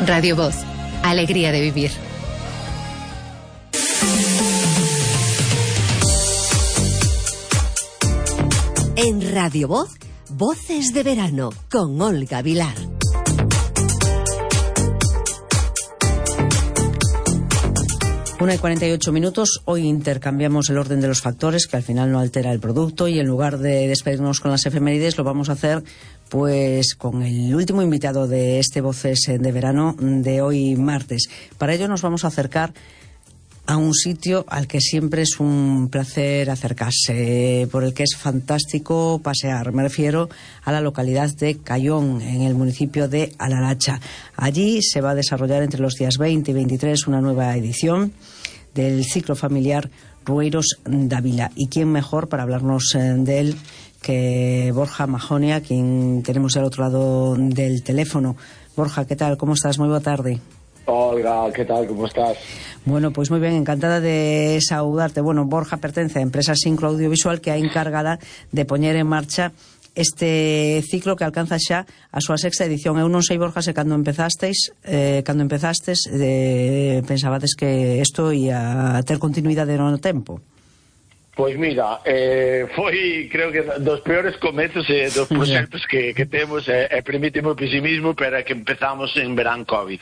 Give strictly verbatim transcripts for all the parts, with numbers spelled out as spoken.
Radio Voz, alegría de vivir. En Radio Voz, Voces de Verano, con Olga Vilar. Una y cuarenta y ocho minutos. Hoy intercambiamos el orden de los factores, que al final no altera el producto, y en lugar de despedirnos con las efemérides, lo vamos a hacer pues con el último invitado de este Voces de Verano de hoy martes. Para ello nos vamos a acercar a un sitio al que siempre es un placer acercarse, por el que es fantástico pasear. Me refiero a la localidad de Cayón, en el municipio de Alaracha. Allí se va a desarrollar entre los días veinte y veintitrés una nueva edición del ciclo familiar Rueiros Dávila. ¿Y quién mejor para hablarnos de él que Borja Majonia, quien tenemos al otro lado del teléfono? Borja, ¿qué tal? ¿Cómo estás? Muy boa tarde. Olga, ¿qué tal? ¿Cómo estás? Bueno, pues muy bien, encantada de saludarte. Bueno, Borja pertence a Empresa Sincro Audiovisual, que é encargada de poñer en marcha este ciclo que alcanza xa a súa sexta edición. Eu non sei, Borja, se cando empezasteis, eh, cando empezastes, eh, pensabades que isto ia ter continuidade no tempo? Pois mira, eh, foi, creo que dos peores comezos e eh, dos proxectos que, que temos, e eh, permíteme o pesimismo, pero é que empezamos en verán COVID.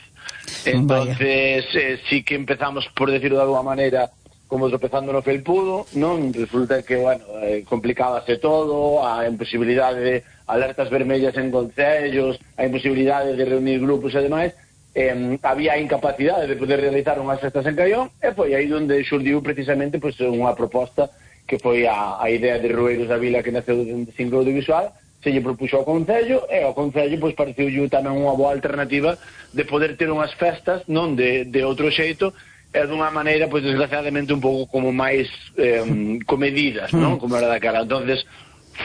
Entonces, eh, sí que empezamos, por decirlo de alguma maneira, como tropezando no felpudo, non? Resulta que, bueno, eh, complicábase todo, a imposibilidade de alertas vermellas en concellos, a imposibilidade de reunir grupos e demais, eh, había incapacidade de poder realizar unhas festas en Caión, e foi aí onde xurdiu precisamente pues, unha proposta que foi a, a idea de Rueiros Dávila, que naceu de Sincro Audiovisual. Se lle propuxo ao Concello, e ao Concello pois pareceu tamén unha boa alternativa de poder ter unhas festas non de, de outro xeito, e dunha maneira, pois desgraciadamente un pouco como máis eh, comedidas, non? Como era da cara. Entonces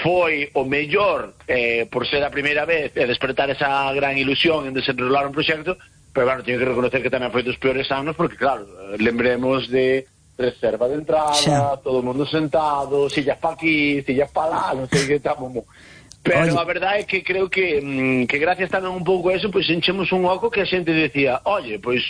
foi o mellor eh, por ser a primeira vez e despertar esa gran ilusión en desenrolar un proxecto, pero bueno, teño que reconocer que tamén foi dos peores anos, porque claro, lembremos de reserva de entrada, xa. Todo o mundo sentado, sillas pa aquí, sillas pa lá, non sei que estamos. Pero oye, a verdade é que creo que mmm, que gracias tamén un pouco a eso, pois enchemos un oco que a xente decía, oye, pois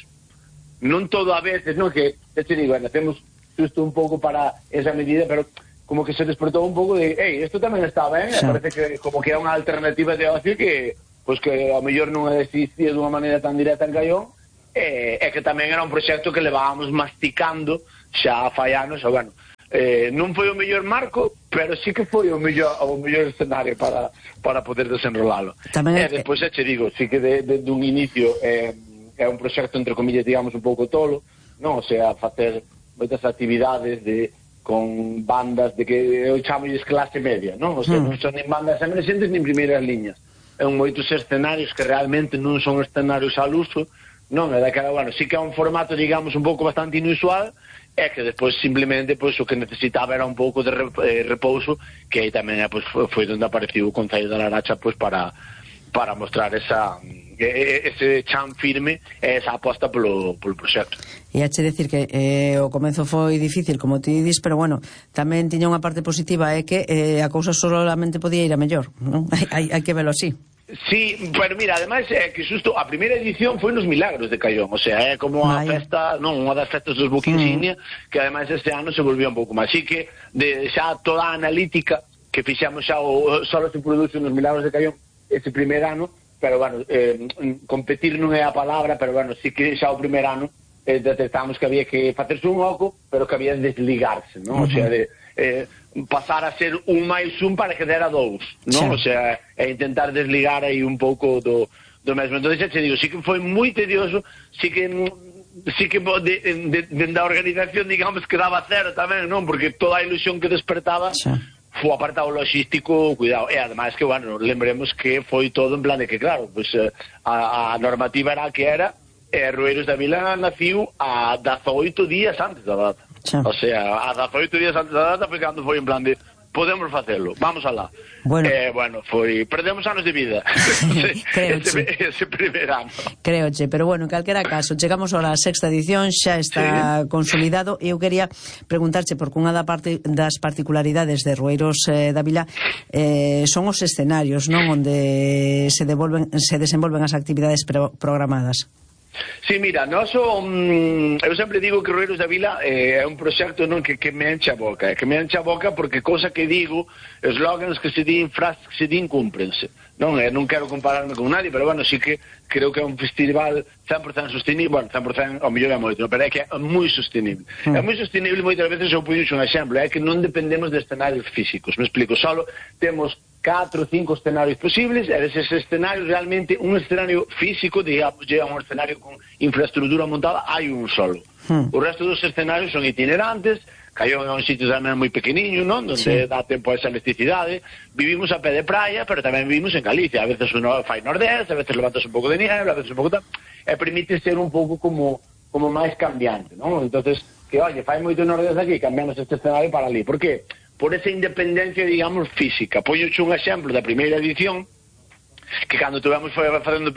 non todo a veces, non, que te digo, bueno, hacemos justo un pouco para esa medida, pero como que se despertou un pouco de, ei, isto tamén está ben, sí. Parece que como que é unha alternativa de ocio que, pois que ao mellor non existía dunha maneira tan directa en Caión, e, e que tamén era un proxecto que levábamos masticando xa fai anos, e bueno, Eh, non foi o mellor marco, pero sí que foi o mellor, o mellor escenario para, para poder desenrolalo. Tamén e despois, eh, che digo, sí que de, de, dun inicio eh, é un proxecto, entre comillas, digamos, un pouco tolo, non? O sea, facer moitas actividades de, con bandas de que eu chamo clase media, non? O sea, mm. non son nin bandas emerxentes nin primeiras liñas. É un moitos escenarios que realmente non son escenarios al uso, non? É daquela, bueno, sí que é un formato, digamos, un pouco bastante inusual, é que despois simplemente pois o que necesitaba era un pouco de repouso, que aí tamén pois, foi onde apareceu o Concello de Alaracha pois para para mostrar esa ese chan firme e esa aposta polo, polo proxecto. E hache decir que eh, o comezo foi difícil, como ti dis, pero bueno, tamén tiña unha parte positiva, é que eh, a cousa solamente podía ir a mellor, non? hai, hai que velo así. Sí, pero mira, ademais é que xusto a primeira edición foi nos Milagros de Caión, o sea, é como a Vaya. festa, non, unha das festas dos Boca Insignia, mm. que ademais este ano se volvió un pouco máis. Así que de xa toda a analítica que fixamos xa o solo se produce nos Milagros de Caión ese primer ano, pero bueno, eh, competir non é a palabra, pero bueno, sí que xa o primer ano eh, detectamos que había que facerse un oco, pero que había de desligarse, non? Uh -huh. O sea, de eh, pasar a ser un máis un para que dera dous, non? Sí. O sea, é intentar desligar aí un pouco do, do mesmo. Entón, xa te digo, sí que foi moi tedioso, sí que sí que de, de, de, da organización, digamos, que daba cero tamén, non? Porque toda a ilusión que despertaba sí. Foi apartado logístico, cuidado. E ademais que, bueno, lembremos que foi todo en plan de que, claro, pues, a, a normativa era a que era, e Rueiros Dávila naciu a dezaoito días antes da data. Sí. O sea, a dezaoito días antes da data foi cando foi en plan de podemos facelo, vamos alá. Bueno, eh, bueno foi, perdemos anos de vida ese, ese primer ano. Creoche, pero bueno, en calquera caso, chegamos a la sexta edición, xa está sí. consolidado, e eu quería preguntarche, porque unha da parte, das particularidades de Rueiros eh, Dávila eh, son os escenarios, non? Onde se devolven, se desenvolven as actividades pro, programadas. Sí, mira, noso, um, eu sempre digo que Rueiros da Vila eh, é un proxecto non que, que me enche a boca, eh, que me enche a boca porque cousa que digo, eslogans que se din, frases que se din, cúmprense. Non, eh, non quero compararme con nadie, pero bueno, sí que creo que é un festival cen por cento sostenible, bueno, cen por cento ao mellor é moito, pero é que é moi sostenible. Mm. É moi sostenible, moitas veces eu puxo un exemplo, é que non dependemos de escenarios físicos, me explico, solo temos catro ou cinco escenarios posibles, e deses escenarios realmente un escenario físico, digamos, é un escenario con infraestructura montada, hai un solo. Hmm. O resto dos escenarios son itinerantes, Caión é un sitio tamén moi pequeniño, non? Donde sí. dá tempo a esa elasticidade. Vivimos a pé de praia, pero tamén vivimos en Galicia. A veces uno fai nordeste, a veces levantas un pouco de nieve, a veces un pouco tal, e permite ser un pouco como como máis cambiante, non? Entonces, que, oye, fai moito nordeste aquí, cambiamos este escenario para ali. Por qué? Por esa independencia, digamos, física. Poñoche un exemplo da primeira edición, que cando tuvemos facendo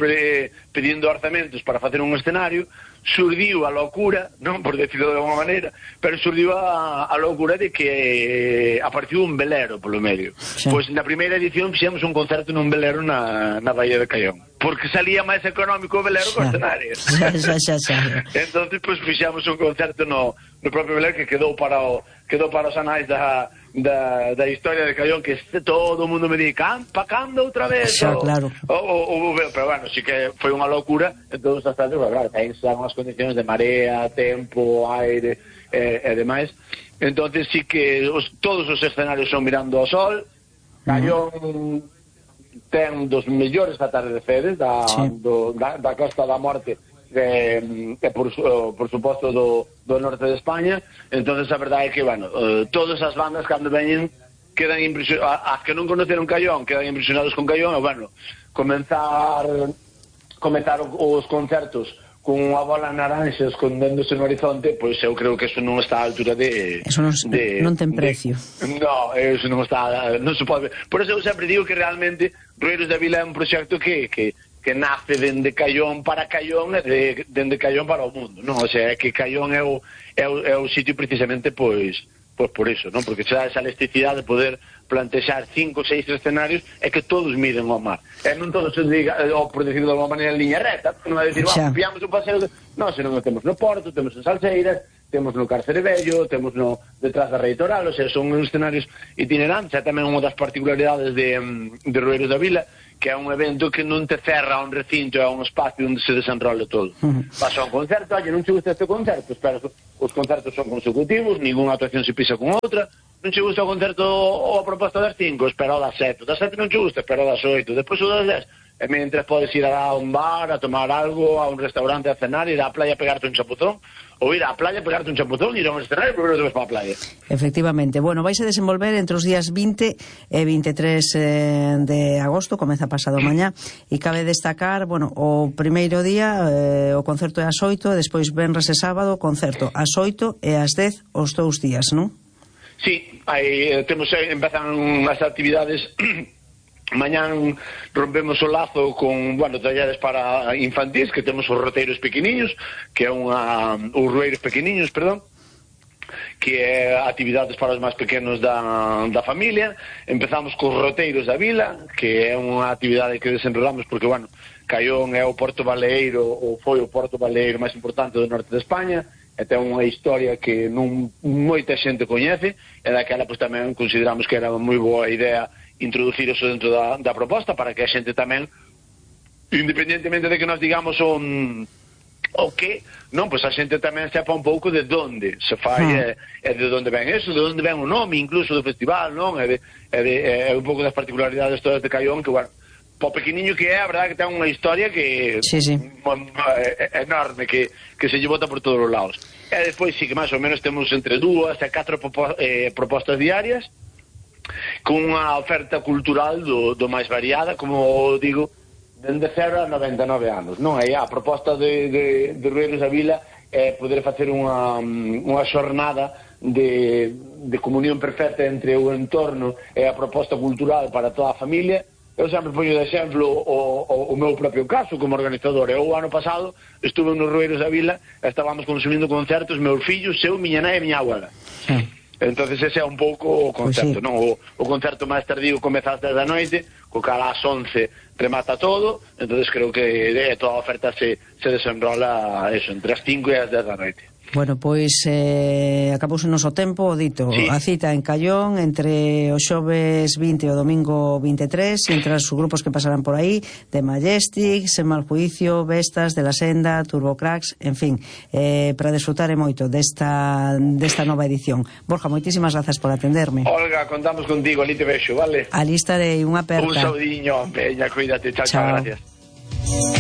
pedindo orzamentos para facer un escenario, surdiu a locura, non por decirlo de alguma maneira, pero surdiu a, a locura de que apareceu un velero polo medio. Sí. Pois na primeira edición fixemos un concerto nun velero na, na Baía de Caión, porque salía máis económico o velero co escenario. Xa, xa, xa, xa. Entonces, pois fixemos un concerto no, no propio velero que quedou para o quedou para os anais da Da, da historia de Caión, que este, todo o mundo me di pa cando outra vez xa, o, claro. o, o, o, pero bueno, sí que foi unha locura en todos os aspectos, pero claro, aí están as condicións de marea, tempo, aire e, e demais. Entonces sí que os, todos os escenarios son mirando ao sol. Caión uh-huh. ten dos mellores atardeceres da, sí. do, da, da Costa da Morte e, e por, por suposto do, do norte de España. Entonces a verdade é que, bueno, uh, todas as bandas cando veñen quedan impresionados, as que non conoceron Caión quedan impresionados con Caión, e bueno, comenzar comenzar os concertos con unha bola naranxa escondéndose no horizonte, pois eu creo que eso non está á altura de... Eso non, de, non ten precio. De, no, eso non está, non se pode ver. Por eso eu sempre digo que realmente Rueiros da Vila é un proxecto que... que que nace dende Caión para Caión e de, dende Caión para o mundo, non? O sea, é que Caión é o, é o, é o sitio precisamente, pois, pois por iso, non? Porque se dá esa elasticidade de poder plantexar cinco ou seis escenarios e que todos miren ao mar. E non todos se diga, ou por decirlo de alguma maneira, en liña recta, non é dicir, vamos, pillamos un paseo, de... non, senón que temos no Porto, temos en Salseiras, temos no Cárcere Vello, temos no detrás da Reitoral, o sea, son escenarios itinerantes, e tamén unha das particularidades de, de Rueiros da Vila, que é un evento que non te cerra un recinto, é un espacio onde se desenrola todo. Uh-huh. Vas a un concerto, oye, non che gusta este concerto, espera, os concertos son consecutivos, ninguna actuación se pisa con outra, non che gusta o concerto ou a proposta das cinco, espera o das sete, das sete non che gusta, espera o das oito, depois o das dez, e mentre podes ir a un bar, a tomar algo, a un restaurante a cenar, ir á playa a pegarte un chapuzón, ou ir á playa a pegarte un chapuzón, ir a un escenario e primeiro te vas para a playa. Efectivamente. Bueno, vais a desenvolver entre os días vinte e veintitrés eh, de agosto, comeza pasado mañá, e cabe destacar, bueno, o primeiro día eh, o concerto é ás oito, e despois venres e sábado, concerto ás oito e ás dez os dous días, non? Sí, aí eh, temos, eh, empezan as actividades. Mañán rompemos o lazo con, bueno, talleres para infantis, que temos os roteiros pequeniños, que é unha, os rueiros pequeniños, perdón, que é actividades para os máis pequenos da, da familia. Empezamos cos roteiros da vila, que é unha actividade que desenrolamos porque, bueno, Caión é o porto baleeiro, ou foi o porto baleeiro máis importante do norte de España, e ten unha historia que non moita xente coñece, e daquela pois tamén consideramos que era moi boa idea introducir eso dentro da, da proposta para que a xente tamén, independentemente de que nos digamos un, o que, non, pois a xente tamén sepa un pouco de onde se fai ah. e, e de onde ven eso, de onde ven o nome incluso do festival, non? E, de, e, de, e un pouco das particularidades todas de Caión, que, bueno, po pequeniño que é, a verdade que ten unha historia que sí, sí. é enorme, que, que se lle bota por todos os lados. E despois sí que máis ou menos temos entre dúas e catro eh, propostas diarias, con unha oferta cultural do, do máis variada, como digo, dende cero a noventa e nove anos, non? E a proposta de, de, de Rueiros da Vila é poder facer unha, unha xornada de, de comunión perfecta entre o entorno e a proposta cultural para toda a familia. Eu sempre poño de exemplo o, o, o meu propio caso como organizador. Eu o ano pasado estuve nos Rueiros da Vila e estábamos consumindo concertos meus fillos, eu, miña nai e miña abuela. Sí. Entonces ese é un pouco o concerto, Pois sí. non? O, o concerto máis tardío comeza ás dez da noite, co cal ás once remata todo, entonces creo que eh, toda a oferta se, se desenrola eso, entre as cinco e as dez da noite. Bueno, pois eh, acabouse o noso tempo, o dito, Sí. a cita en Callón entre o xoves vinte e o domingo vinte e tres, entre os grupos que pasarán por aí, de Majestic, Sen Mal Juicio, Vestas, De La Senda, Turbocracks, en fin, eh, para desfrutar e moito desta, desta nova edición. Borja, moitísimas grazas por atenderme. Olga, contamos contigo, ali te vexo, vale? A lista de unha aperta. Un saudiño, peña, cuídate, chao, chao, Chao. gracias.